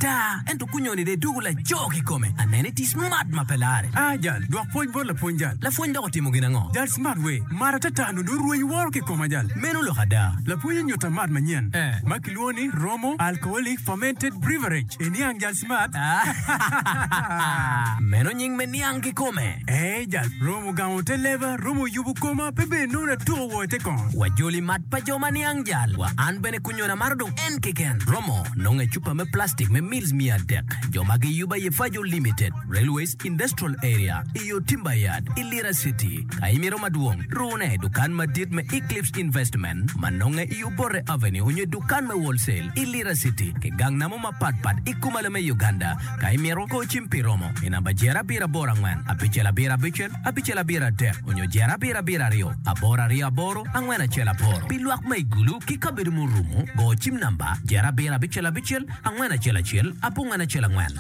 Ata, ento kunyoni dong idwogo laco kikome. Aneno itye smart ma pe lare. Ah jal, dwok pwoc bot lapwony jal. Lapwony dok otimo gin ango? Jal smart we, mat atata nongo dong orwenyo woro ki koma jal. Meno lok ada. Lapwony onyuta mat manyen Eh. ma kilwongo ni Romo Alcoholic Fermented Breverage. Iniang jal smart? Meno nying me niang kikome. Eh jal, Romo gamo te leba, Romo yubo koma, pe bene nongo atuko woo ite kongo. Wajoli mat pa jo ma niang jal. Wa an bene kunyoni amaro dong en keken. Romo nongo i cupa me plastic me mils 300. Jo ma giyubo aye Fajo Limited, Railways Industrial Area, i yo Timber Yard, i Lira City. Ka imito madwong, rune i dukan madit me Eclipse Investment ma nonge i Obote Avenue onyo i dukan me Wholesale i Lira City ki gang namo mapat pat i kumalo me Uganda. Ka imito, go cim pi romo i namba jero abiro aboro angwen, abicel abiro abicel, abicel abiro adek onyo jero abiro abiro aryo, aboro aryo aboro, angwen acel aboro. Pi lwak ma i Gulu ki kabedo murumo, go cim namba jero abiro abicel abicel, angwen acel acel, abongwen acel angwen.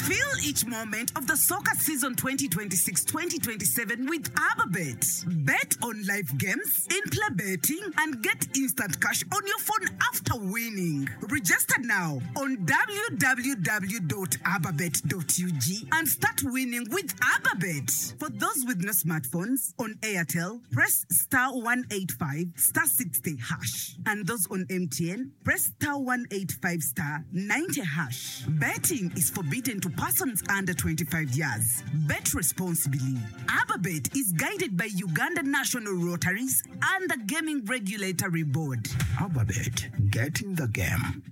Feel each moment of the soccer season 2026-2027 with Ababet. Bet on live games, in-play betting, and get instant cash on your phone after winning. Register now on www.ababet.ug and start winning with Ababet. For those with no smartphones, on Airtel, press star 185 star 60 hash. And those on MTN, press star 185 star 90 hash. Betting is forbidden to persons under 25 years. Bet responsibly. Ababet is guided by Uganda National Rotaries and the Gaming Regulatory Board. Ababet, get in the game.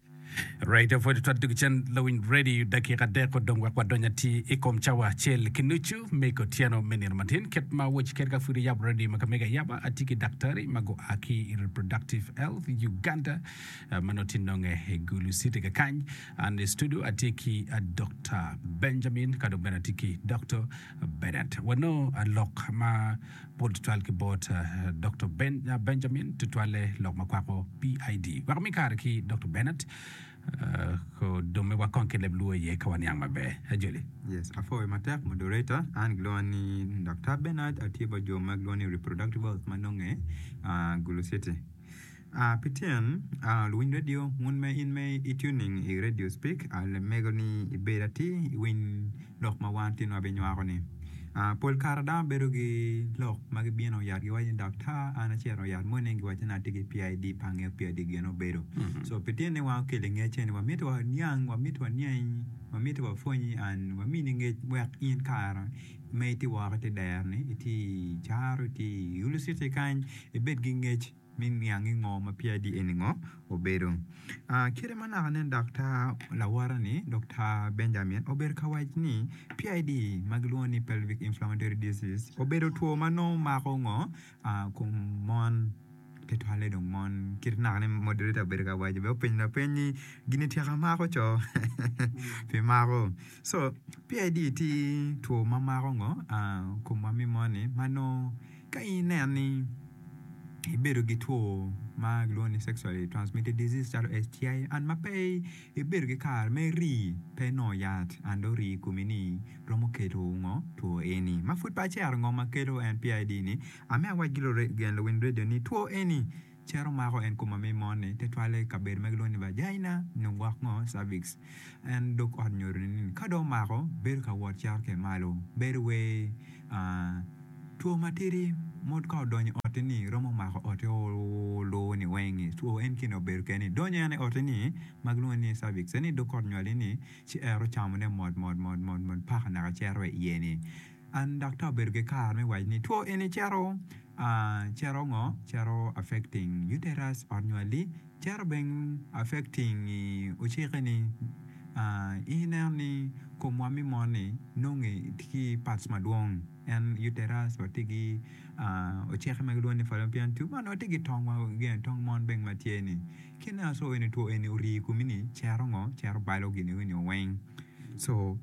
Radio pwod twat dug cen lawiny radio dakika adek odong wek wadony atir i kom cawa acel ki nucu me kotyeno me nino matin kit ma awaci kede ka pud iyabo radio ma ka mega ayaba atye ki daktari ma gua ki i Reproductive Health Uganda ma nongo tye nonge i Gulu City kakany. An i studio atye ki Dokta Benjamin ka dong bene atye ki Dokta Bernard. Wanongo lok ma pol tutwal ki bot Dokta Benjamin tutwalle lok ma kwako PID. Wek ami kare ki Dokta Bernard odomme wa kong ki leb luo iye ka waniang maber. Ajoli. Yes, apwoyo matek moderator. An gilwonga ni Dokta Bernard, atye bot jo ma gilwongo ni Reproductive Health ma nonge Gulu City. Pi tyen, luwiny redio, wun ma in ma i tuning i redio speak, mego ni ibed atir iwiny lok ma wan tin wabinywako ni. Pol kare dano bedo ki lok ma gibino yat giwaco ni daktar an acito yat moni giwaco ni atye ki PID pe angeyo PID gin obedo. So pi tyen ni wan okelo ngec eni wamito waniang, wamito waniangi, wamito wapwonyi and wamini ngec wek in kare ma itye woko ite dero ni itye i caro itye i Gulu city kany ibed ki ngec. me niang ni ngo ma PID eni ngo obedo. Kite ma naka nen daktar lawota ni Doktar Benjamin obedo ka waco ni PID ma gilwongo ni pelvic inflammatory disease obedo two ma nongo mako ngo kom mon tutwalle dong mon kit naka ni moderator obedo ka waco bene openyo lapeny ni gini tyeka mako co pi mako so PID tye two ma mako ngo komwa me mon-ni ma nongo Ka in ineno ni ibedo ki two ma kilwongo ni sexually transmitted disease calo STI and ma pe ibedo ki kare me rii pe inongo yat and dong orii i komi ni romo kelo ngo two eni. Ma pud pe acero ngo ma kelo en PID ni amito awac ki luwiny radio ni two eni cito mako en koma me mon-ni tutwalle i kabedo ma gilwongo ni vagina nyo gwok ngo cervix en dog ot nyodo-ni ni ka dong omako bedo ka wot cito ki malo bedo wai two matidi mo ka odonyo i otti ni romo mako otti olu-ni weng-ngi two en kine obedo kene ni donyo en i otti-ni ma gilwongo ni cervix eni dog ot nywali-ni ci ero camone mot mot mot mot paka naka cito wa iye-ni. An daktar obedo ki kare me waco ni two eni cito cito ngo cito affecting uterus ot nywali cito bene affecting ocike ni in ineno ni komwa me mon ni nongo tye ki parts madwong en uterus watye ki ocike ma gilwongo ni fallopian tube man watye ki tong wa tong mon bene ma tye ni ki ineno so eni two eni ori i komi ni cito ngo cito balo gin eni weng so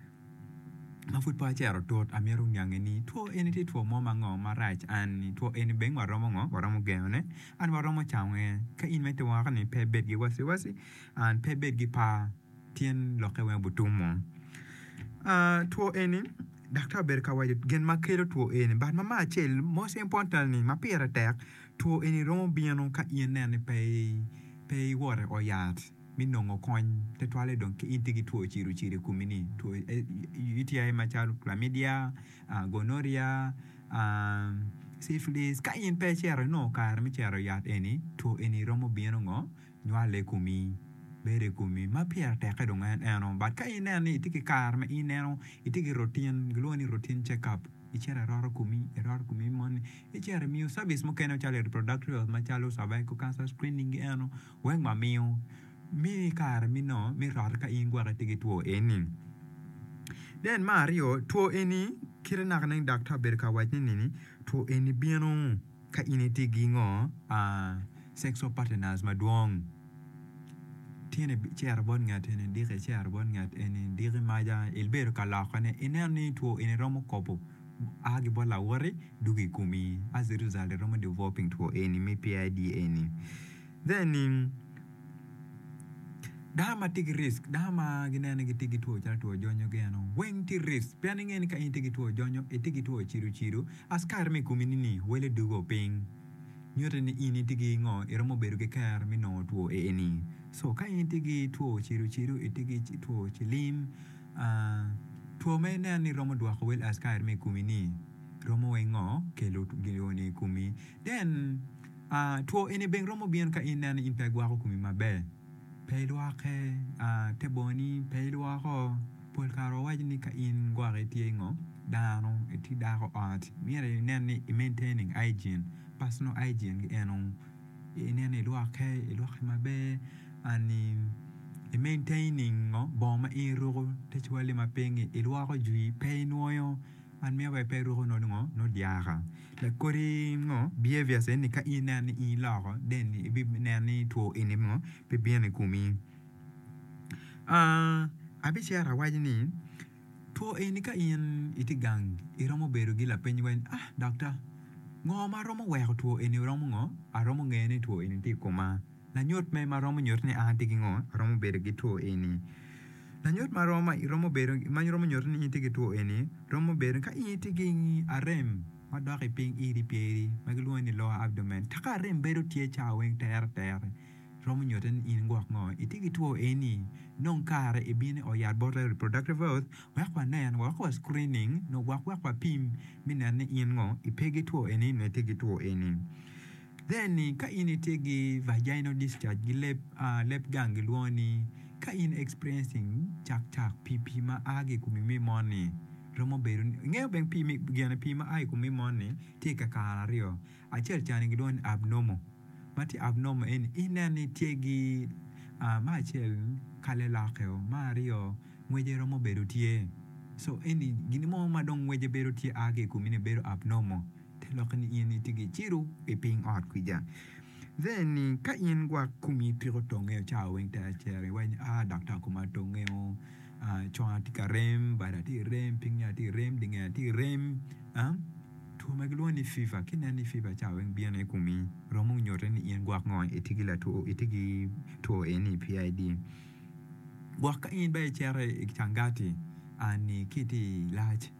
Ma pud pe acito tut, amito niange ni two eni tye two mo ma ngo marac an ni two eni bene waromo ngo waromo gengone an waromo cange ka in ma itye woko ni pe ibed ki waci waci an pe ibed ki par tyen lokke weng obutumo. Two eni daktar obedo ka waco gin ma kelo two eni but ma me acel most importantly ma pire tek two eni romo bino ka in ineno ni pe. iwoto i ot yat me nongo kony tutwalle dong ka in itye ki two ciro ciro i komi-ni, two UTI macalo chlamydia, gonorrhea, syphilis. Ka in pe icito inongo kare me cito i yat eni, two eni romo bino ngo? Nywale i komi, bedo i komi ma pire tekke dong en eno. But ka ineno ni itye ki kare ma ineno itye ki routine, gilwongo ni routine check up, icito iroto komi, iroto komi moni, icito imiyo service mukene calo reproductive health macalo cervical cancer screening gi eno weng wamiyo. Mini kare me nongo me roto ka in gwok itye ki two eni. Then me aryo, two eni kite naka nen daktar obedo ka wacone nini, two eni bino ka in itye ki ngo, sexual partners madwong. Tin icito bot ngat eni, diki icito bot ngat eni, diki maca ibedo ka lokone, ineno ni two eni romo kobo a ki bot lawoti dwogo i komi as a result iromo developing two eni me PID eni. Then dano ma tye ki risk, dano ma gineno ni gitye ki two calo two jonyo gi eno weng tye risk pien inge ni ka in itye ki two jonyo itye ki two cido cido askari ma i komi ni wele dugo piny nyuto ni in itye ki ngo iromo bedo ki kero me nongo two eni so ka in itye ki two cido cido itye ki two cilim two ma ineno ni romo dwoko wel askari ma i komi ni romo weng ngo kelo gin ni i komi then Two eni bene romo bino ka in ineno ni in pe igwoko komi maber, pe ilwoke, te bongoni pe ilwoko. Pol kare wawaco ni ka in gwok itye ngo dano, itye dako ot, myero inen ni i maintaining hygiene, personal hygiene gi eno, inen ni ilwoke, ilwoke maber and i maintaining ngo bongo ma in iruko te cwali ma piny-ngi ilwoko jwi pe inwoyo. Man miyo wa pe iruko nongo ngo nongo dyaka. Like kodi ngo behaviors eni ka in ineno ni in iloko then ibineno ni two eni ngo pe bino i komi. Abicito awaco ni two eni ka in itye gang iromo bedo ki lapeny wai ni ah daktar ngo ma romo weko two eni romo ngo aromo ngeyo ni two eni tye i koma. Lanyut me ma romo nyuto ni an atye ki ngo? Aromo bedo ki two eni. Lanyut ma romo romo bedo ma romo nyuto ni in itye ki two eni romo bedo ka in itye ki arem ma dok i piny iri pyeri ma gilwongo ni lower abdomen ka arem bedo tye cawa weng tere tere romo nyuto ni in gwok ngo itye ki two eni nong kare ibino i ot yat bot reproductive health wek wanen wek wa screening nyo wek wapim me neno ni in ngo ipe ki two eni nyo itye ki two eni. Then ka in itye ki vaginal discharge gi leb leb gang gilwongo ni ka in experiencing cak cak pii pii ma a ki i komi me mon-ni romo bedo ni ingeyo bene pii me gine pii ma a i komi mon-ni tye kakare aryo acel cani gilwongo ni abnormal ma tye abnormal eni ineno ni tye ki me acel kale lokke-o me aryo ngwece romo bedo tye so eni gin mo ma dong ngwece bedo tye a ki i komi ni bedo abnormal. Te lokke ni in itye ki ciro i piny ot kwija. Then ni ka in gwok komi tiko tongeo cawa weng te acero iwaco ni ah daktar koma tongeo, ah conga tye ka rem, bada tye ka rem, pingnge tye ka rem, dingeya tye ka rem ah two ma gilwongo ni fever ka ineno ni fever cawa weng bino i komi romo nyutte ni in gwok ngo itye ki latwo itye ki two eni PID. Gwok ka in bene icito i cangati ani ki itye i lac.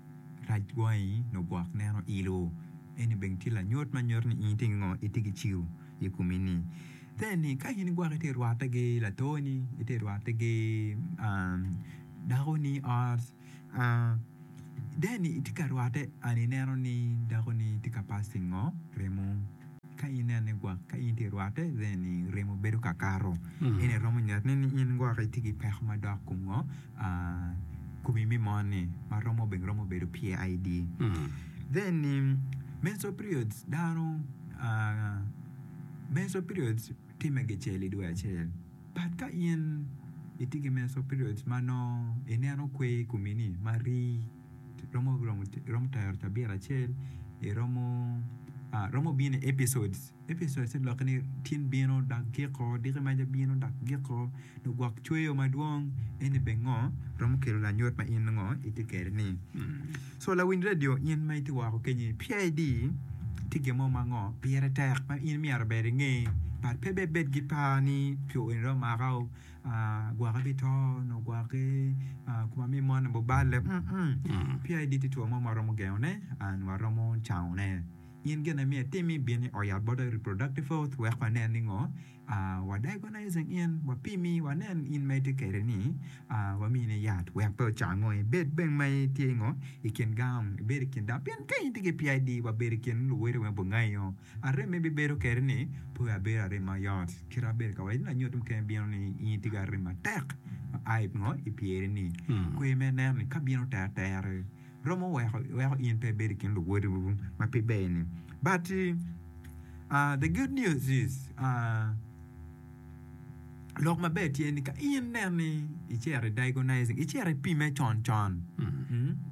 rac wangi nyo gwok neno ilo. Eni bene tye lanyut ma nyuto ni in itye ki ngo? Itye ki ciu i komi ni. Then ni ka in gwok itye rwatte ki latoni, itye rwatte ki dakoni i ot, then itye ka rwatte and ineno ni dakoni tye ka passing ngo? Remo. Ka in ineno ni gwok ka in itye rwatte then remo bedo ka kato. Eni romo nyutone ni in gwok itye ki peko madok kom ngo? Komi me mon-ni ma romo bene romo bedo PID. Then menstrual periods dano menstrual periods timme gicel i dwe acel but ka in itye ki menstrual periods ma nongo ineno kwer i komi-ni ma rii romo romo tero cabit acel iromo romo bino i epicodes. Epicodes te lokke ni tin bino dok giko, diki maca bino dok giko, nyo gwok cweyo madwong eni bene ngo romo kelo lanyut ma in ngo itye kwede ni. So lawiny radio in ma itye woko kenyi PID tye gin mo ma ngo pire tek ma in myero ber inge but pe bed bed ki par ni two eni dong omaka o gwoki bito nyo gwoki koma me moni obale PID tye two mo ma waromo gengone and waromo cangone. In gin ma myero itim ibin i ot yat bot reproductive health wek wanen ni ngo wa diagnosing in wapimi wanen in ma itye kwede ni wamini yat wek pe ocango ibed bene ma itye ngo i kin gang ibed i kin dano pien ka in itye ki PID wabedo i kin luwoti weng obingeyo arem ibibedo kwede ni pe abedo arem mayot kit abedo ka waco ni lanyut mukene bino ni in itye ki arem matek ma a ngo i pyeri ni kwer me neno ni ka bino terter romo weko weko in pe ibedo i kin luwoti ma pe ber ni but the good news is lok maber tye ni ka in nen ni icito i diagonizing icito ipime con con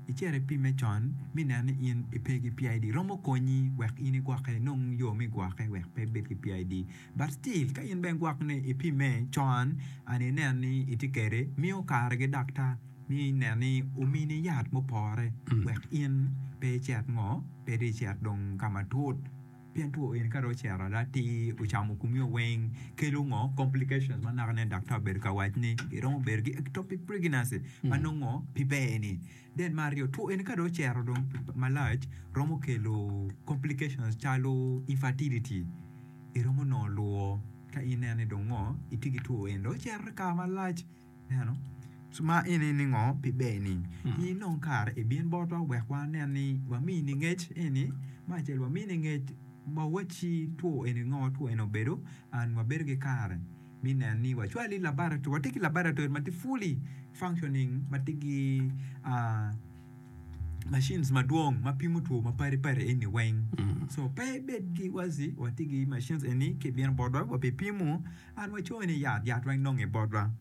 icito ipime con mi nen ni in ipe ki PID romo konyi wek in igwokke inong yo me gwokke wek pe ibed ki PID but still ka in bene gwok ni ipime con and inen ni itye kwede miyo kare ki daktar mi inen ni omini yat mupore wek in pe icit ngo pe dong icit dong ka matut. Pien two eni ka dong ocito ada atir ocamo komi weng kelo ngo complications ma naka nen daktar obedo ka wac ni iromo bedo ki ectopic pregnancy ma nongo pe ber ni. Then me aryo two eni ka dong ocito dong malac romo kelo complications calo infertility iromo nongo lwor ka ineno ni dong ngo itye ki two eni dong ocito kare malac. Ineno? Ma eni ni ngo? Pi ber-ni. In inong kare ibin botwa wek wanen ni wamini ngec eni. Me acel wamini ngec wawacci two eni ngo, two eni obedo and wabedo ki kare me neno ni wacwali i laboratory. Watye ki laboratory ma tye fully functioning ma tye ki machines madwong ma pimo two mapadi padi eni weng. So pe ibed ki waci watye ki machines eni ka ibino botwa wabipimo An wacoyo ni yat, yat weng nonge botwa.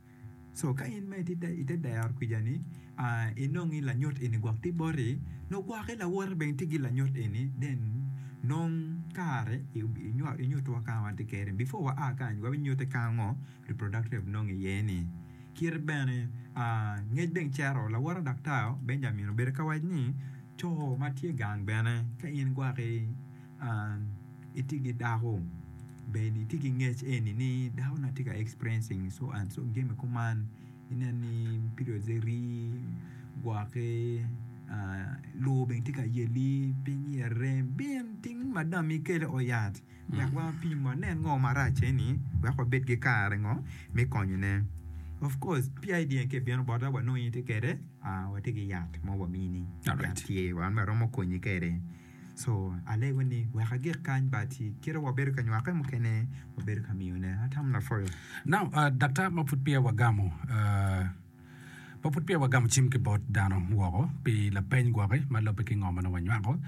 So ka in ma itye ite dero kwica ni inongi lanyut eni gwok tye boti, nongo gwoki lawote bene tye ki lanyut eni then nong kare inyutwa ka watye kede before wa a kany wabinyuti ka ngo reproductive nongo iye ni. Kite bene ngec bene cito lawote daktar Benjamin obedo ka waco ni co ma tye gang bene ka in gwaki itye ki dako bed itye ki ngec eni ni dako na tye ka experiencing so and so jami kuman inen ni periods ne rii gwoki lur bene tye ka yeli piny iye rem bin ting madam ikel i ot yat wek wapim wanen ngo marac eni wek wabed ki kare ngo me konyone of course PID en ka ibino bota wanongo in itye kwede watye ki yat mo wamini yat tye wan waromo konyi kwede. So alego ni wek agik kany but kite wabedo ka nywake mukene wabedo ka miyo ne atamo lapwoyo. Now daktar ma pud peya wagamo ma pud peya wagamo cim ki bot dano woko pi lapeny gwoki ma lubbe ki ngo ma nongo wanywako.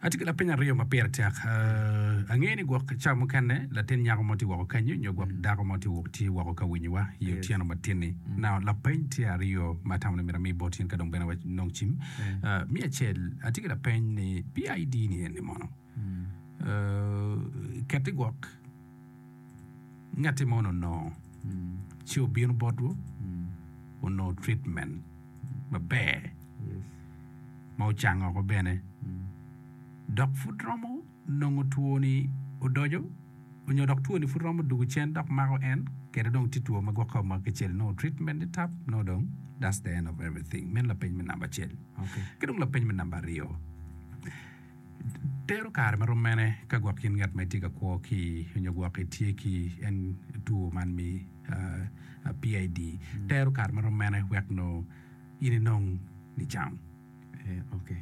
Atye ki lapeny aryo ma pire tek. Angeyo ni gwok ca mukene latin nyako mo tye woko kenyo nyo gwok dako mo tye woko ka winyowa i otyeno matin-ni. Now lapeny tye aryo ma atamo ni myero ami bot in ka dong bene wanong cim. Me acel, atye ki lapeny ni PID ni eni mono keti gwok ngatti mo onongo ci obino botwu onongo treatment maber ma ocango woko bene dok pud romo nongo two-ni odoco onyo dok two-ni pud romo dugo cen dok mako en kede dong tye two ma gwok ka omaki kicel nongo treatment ni tap nongo dong that's the end of everything. Meno lapeny me namba acel. Ki dong lapeny me namba aryo, tero kare ma rom mene ka gwok in ngat ma itye ka kwo ki onyo gwok itye ki en two man me PID tero kare ma rom mene wek nongo in inong nicang? Ok,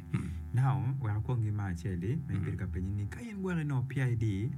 now wek akwong ki me acel-li ma ibedo ka penye ni ka in gwok inongo PID.